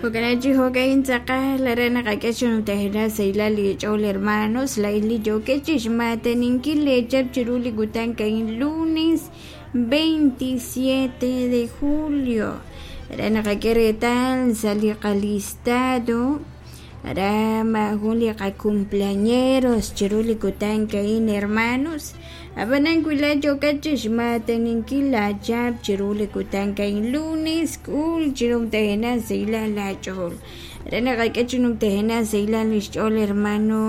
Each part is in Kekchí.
Jo'kan chi jo'ka'in tz'aqal aran naqak'e xnumtajenaq sahilal li ch'ool hermanos laa'in li yookex chixmaataninkil leechap chiru li kutan ka'in lunes 27 de julio aran naqak'e reetal sa' li qalistado aran maajun li qacumpleañeros chiru li kutan ka'in hermanos ab'anan wi laa'at yookat chixmaataninkil laachap chiru li kutan ka'in lunes k'ul chi numtajenaq sahilal laach'ool aran naqak'e chi numtajenaq sahilal li xch'ool hermano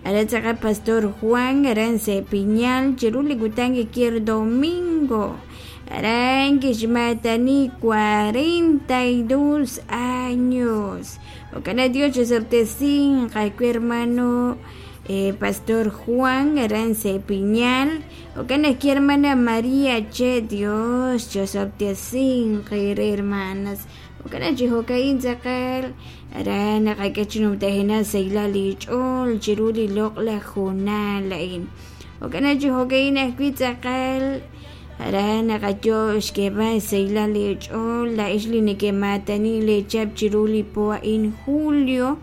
aran tz'aqal Pastor Juan aran Sepiñal chiru li kutan kier domingo aran kixmaatani 42 años jo'kan Dios chisob'tesinq aawe hermano Pastor Juan aran Sepiñal jo'kan ajwi' hermana María che Dios chosob'tesinq eere hermanas jo'kan chi jo'ka'in tz'aqal aran naqak'e chi numtajenaq sahilal li ch'ool chiru li loq'laj hoonal a'in jo'kan chi jo'ka'in ajwi' tz'aqal aran naqayo xk'eeb'al sahilal li ch'ool laa'ex li nekemaatani leechap chiru li po a'in julio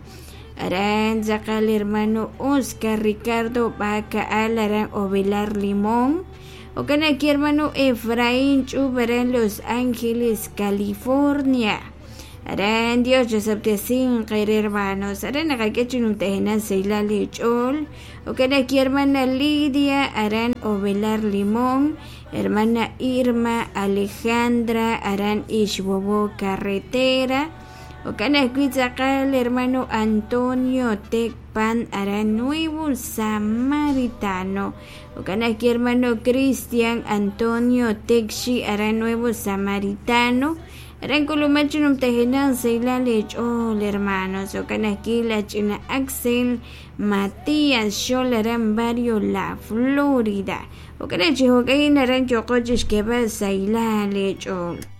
aran tz'aqal hermano Oscar Ricardo Bacaal aran Ovelar Limón jo'kan ajwi' hermano Efraín Ch'ub aran Los Ángeles California aran Dios chosob'tesinq eere hermanos aran naqak'e chi numtajenaq sahilal li ch'ool jo'kan ajwi' hermana Lidia aran Ovelar Limón hermana Irma Alejandra aran Ixbobo Carretera jo'kan ajwi' tz'aqal hermano Antonio Tecpan aran Nuevo Samaritano jo'kan ajwi' hermano Cristian Antonio Texi aran Nuevo Samaritano aran k'ulumak chi numtajenaq sahilal li ch'ool hermanos jo'kan ajwi' la ch'ina Axel Matías Xol aran barrio La Florida jo'kan chi jo'ka'in aran yo'qo chixk'eeb'al sahilal li ch'ool.